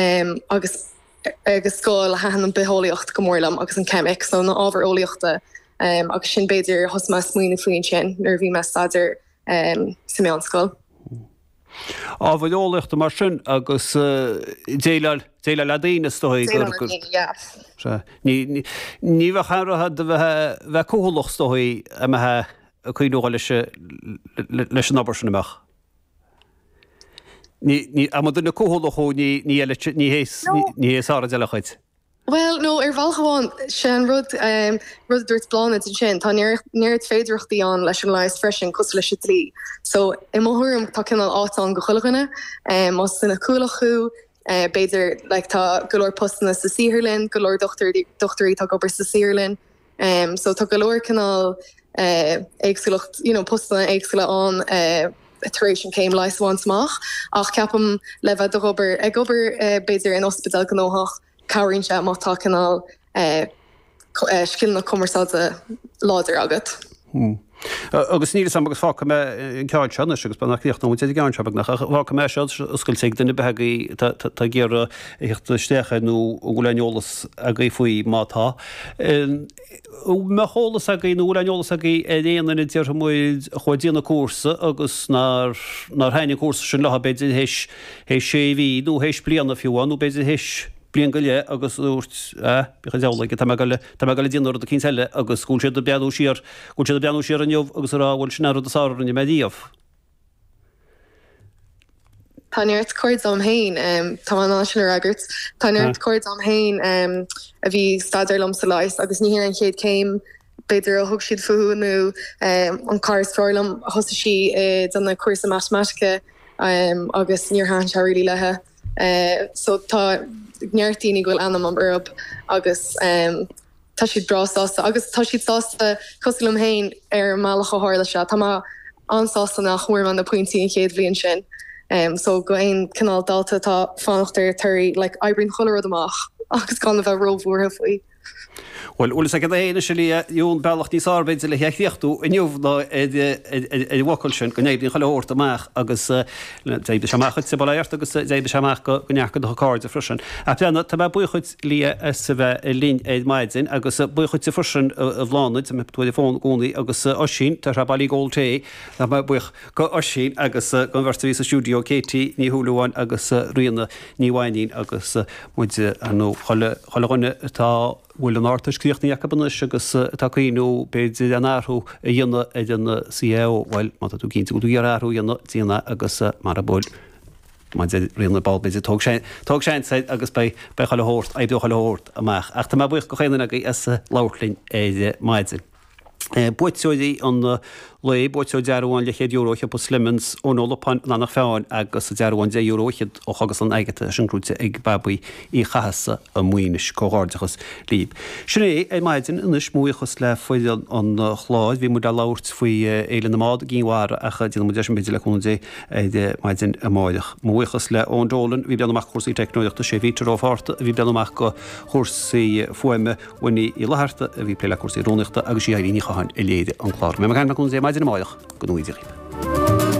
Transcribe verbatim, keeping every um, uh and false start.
um, agus agus scoil thaitin an bitheolaíocht go mór liom agus an ceimic so na ábhair eolaíochta um, agus sin b'fhéidir thosaigh mé smaoineamh faoin sin nuair bhí mé staidéar um, sa meánscoil. Ábhair eolaíochta mar sin agus déileáil déileáil le daoine is dóigh Ní ní bheadh aon de bheith bheith cúthaileach is dóigh a mbeith cuioú leis leis an obair sin amach. Ní am duine cúthaileach ní ní ní ní hé sár de chuid. Well no ar bhealach amháin sin rud um, rud dúirt Bláthnaid sin tá neart féidearthachtaí ann leis an leigheas freisin cosúil leis an dlí. So i mo thuairim tá cineál áit ann do chuile dhuine um, más duine cúthaileach thú uh, b'fhéidir like, tá go leor postanna sa saotharlann, go leor dochtúirí tá obair sa saotharlann. Um, so tá go leor cineál uh, éagsúlacht you know, postanna éagsúla ann uh, tar éis an céim leighis a bhaint amach ach ceapaim le bheith ag obair ag obair uh, b'fhéidir in ospidéal gnóthach cabhraíonn sé má tá cineál scileanna cumarsáide láidir agat. Hmm. Agus ní sam agus fágfaidh mé an ceann seo anois agus nach ríocht nó ceann seo nach fágfaidh mé seo oscailte ag duine beagaí tá ag iarraidh theacht isteach nó bhfuil aon eolas agaibh faoi má tá. Mbeadh eolas agaibh nó bhfuil aon eolas agaibh ar aon duine déarfaidh muid a chuaigh ag déanamh cúrsa agus nár nár thaitin an cúrsa sin leo b'fhéidir théis théis sé mhí nó théis bliana fiú nó b'fhéidir théis bliain go leith agus dúirt ah bíodh an diabhal aige tá mé ag goil tá mé ag goil ag déanamh rud eicínt eile agus go bhfuil siad ag breathnú siar go bhfuil siad ag breathnú siar inniu agus ag rá bhuel sin an rud is fearr a rinne mé riamh. Tá neart cairde agam féin tá mé in ann sin a fhreagairt. Tá neart cairde agam féin a bhí ag staidéar liom sa leigheas agus ní hin an chéad céim b'fhéidir a thug siad fúthu nó an cara is fearr liom thosaigh sí ag déanamh cúrsa matamaitice agus níor thaitin sé really léi. So tá neart daoine go bhfuil ainm agam orthu agus tá siad breá sásta agus tá siad sásta cosúil liom féin ar an mbealach a tharla sé. Tá mé an-sásta nach bhfuair mé na pointí an chéad bhliain sin. Um, so go aon cineál dalta atá ag fanacht ar torthaí like, oibríonn chuile rud amach agus gan a bheith róbhuartha faoi. Bhuel, bhfuil fhios agat féin anois a Lia, an bealach níos fearr b'fhéidir le chríochnú inniu ná ar an bhfocal sin go n-oibríonn chuile shórt amach agus d'oibrigh sé amach dhuitse, bail ó Dhia ort agus d'oibrigh sé amach go neart de do chairde freisin. Ach breathnaigh, tá mé buíoch dhuit Lia as a bheith linn ar maidin agus buíoch dhuitse freisin a Bhláthnaid, tá tú ar an bhfón i gcónaí agus Oisín, tá sé bailí ag ól tae, tá mé buíoch go Oisín agus don bheirt a bhí sa stiúideo, Katie Ní Shúilleabháin agus Ríona Ní Mhainín agus muid ar ndóigh chuile dhuine atá bhfuil an Ardteist críochnaithe acu anois agus atá ag cuimhniú b'fhéidir an athrú a dhéanamh ar an CAO, bhuel, má tá tú cinnte go bhfuil tú ag iarraidh athrú a dhéanamh, déan é agus mara bhfuil, mar a deir Ríona ball b'fhéidir, tóg tóg seans air agus beidh beidh chuile shórt, oibreoidh chuile shórt amach. Ach tá mé buíoch go chaon duine agaibh as labhairt linn ar maidin. Buaiteoirí an lae, buaiteoir dearbhán leathchéad euro ó shiopa Slemons, Eoin Ó Lupáin, an Eanach Mheáin agus dearbhán deich euro fhichead ó Chógaslann Agatha, sin gnóite ag Babaí Uí Chathasaigh i Maínis. Comhghairdeachas libh. Sin é ar maidin anois, mo bhuíochas le foireann an chláir. Bhí muid le labhairt faoi Fhéile na mBád i gCinn Mhara ach déanfaidh muid é sin b'fhéidir le cúnamh Dé ar maidin amáireach. Mo bhuíochas le Eoin Dolan a bhí ag breathnú amach do chúrsaí teicneolaíochta, sé Peter Ó Fátharta a bhí ag breathnú amach do chúrsaí fuaime, Winnie Uí Fhlatharta a bhí ag plé le cúrsaí rúnaíochta agus sí Irene Ní Chatháin a léirigh an clár. Mé ag caint le cúnamh Dé maidin amáireach, go ngnóthaí Dia dhaoibh.